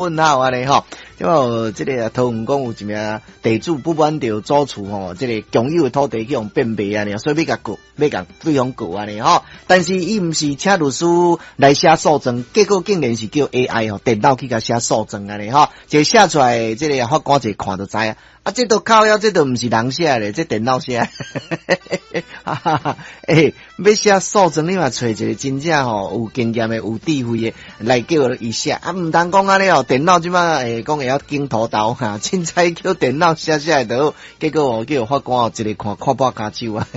問號按呢吼，這個這个桃園講有一名地主不滿著祖厝吼，這个共有的土地去予變賣按呢，所以欲共告，欲共對方告按呢吼。但是伊毋是請律師來寫訴狀，結果竟然是叫 AI 吼電腦去共寫訴狀按呢吼，這寫出來，這个法官一看就知啊。啊，這都靠腰，這都毋是人寫的，這電腦寫。哈哈哈，欸，欲寫訴狀，你嘛揣一个真正吼有經驗的、有智慧的來叫伊寫啊，毋通講按呢哦，電腦這擺會講會曉剪塗豆哈，凊彩叫電腦寫寫就好，結果哦叫法官哦一个看看破跤手啊。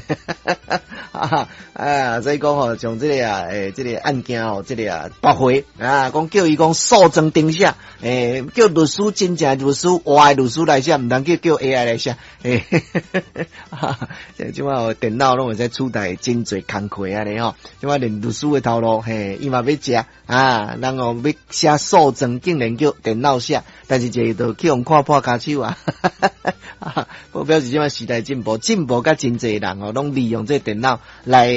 哈哈，啊，所以講吼，像這个啊，欸，這个案件哦，這个啊駁回啊，講叫伊講訴狀重寫，欸，叫律師真正律師活的律師來寫，毋通叫叫 AI 來寫，欸，哈哈，這擺電腦攏會使取代真濟工課按呢吼，這擺連律師的頭路，嘿，伊嘛欲食啊，人哦欲寫訴狀，竟然叫電腦寫，但是這個就去予看破跤手啊，哈哈，表示這擺時代進步，進步甲真濟人哦，攏利用這電腦來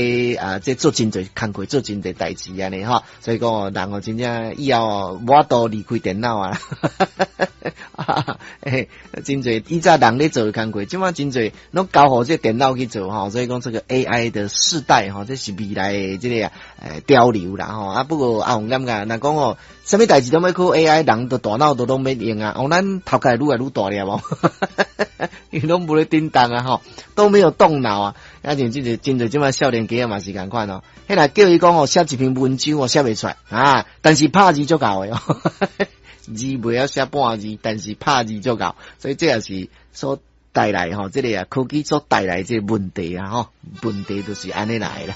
啊，這做真濟工課，做真濟代誌按呢吼，所以講哦，人哦真正以後哦無法度離開電腦啊，哈，欸，真濟以前人咧做的工課，這擺真濟攏交予這電腦去做吼，所以講這個 AI 的世代吼，這是未來的這個欸潮流啦吼，啊不過阿雄感覺，若講哦，啥物代誌攏欲靠 AI，人的大腦都攏免用啊，哦咱頭殼會愈來愈大粒無？因為攏無咧叮當啊吼，都沒有動腦啊，啊像這個真濟這擺少年家嘛是仝款哦，彼若叫伊講哦寫一篇文章哦寫袂出來啊，但是拍字足𠢕的哦，字袂曉寫半字，但是拍字足𠢕，所以這也是所帶來吼，這个啊科技所帶來這个問題啊吼，問題就是按呢來啦。